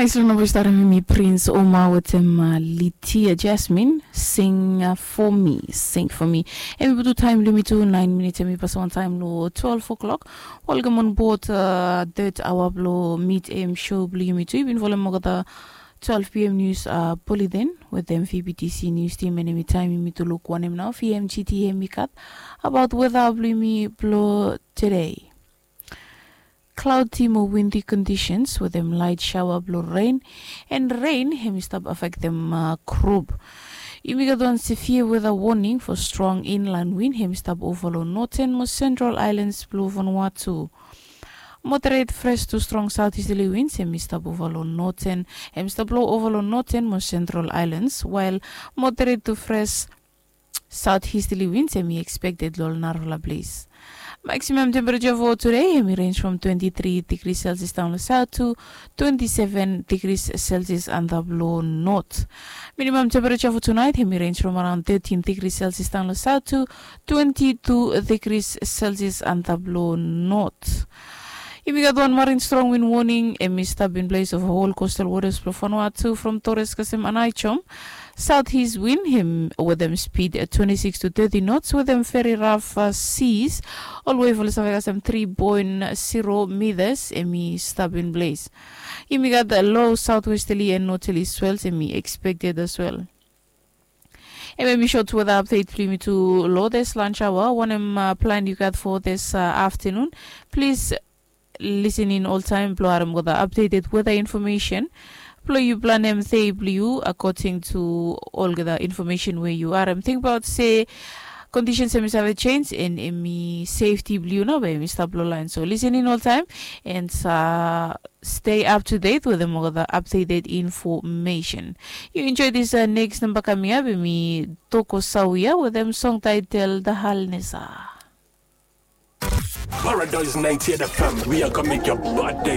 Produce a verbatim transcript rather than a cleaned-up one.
Nais long namba wi starim em i Prince Oma wetem Litia Jasmine, Sing for Me, Sing for Me. Em i putum taem blong yumi tu naen minits, em i pasaon taem long twelve o'clock. Welcome on board, uh, third hour blong Mid A M show blong yumi tu. Yumi bin folem olgeta twelve P M news, uh, bulletin wetem V B T C news team, and em i taem yumi tu luk wanem nao V M G T em i gat abaot weta blong yumi blong tede. Cloudy mo windy conditions wetem light shower blong rain, and rain hem i stap afektem, uh, group. Yumi gat wan severe weather warning for strong inland wind hem i stap ova long northern mo central islands blong Vanuatu. Moderate fresh to strong southeasterly winds hem i stap ova long northern, hem i stap blow ova long northern mo central islands, while moderate to fresh southeasterly winds hem i expected long narafala place. Maximum temperature for today hem i range from twenty-three degrees Celsius down the south to twenty-seven degrees Celsius and the blow north. Minimum temperature for tonight hem i range from around thirteen degrees Celsius down the south to twenty-two degrees Celsius and the blow north. Yumi gat wan marine strong wind warning hem i stap in place of whole coastal waters blong Vanuatu from Torres kasem Aneityum. Southeast wind hem wetem speed, uh, twenty-six to thirty knots wetem very rough, uh, seas. Olwei fo long save kasem three point zero meters hem i stap in place. Yumi gat, uh, low southwesterly and northerly swells hem i expected as well. Em hem i short weather update blong yumi tu long this lunch hour. Wanem, uh, plan yu gat for this, uh, afternoon? Plis listen in oltaem blong harem olgeta updated weather information blong yu, planem dei blong yu according to olgeta information we yu harem. Tingbaot se conditions hem i save change, and hem i safety blong yu nao bae hem i stap long laen. So listen in oltaem and, uh, stay up to date wetem olgeta updated information. Yu enjoy this, uh, next namba kaming ap, hem i Toko Sawia wetem song title The Halnesa. Paradise ninety-eight F M, we are gonna make your bad day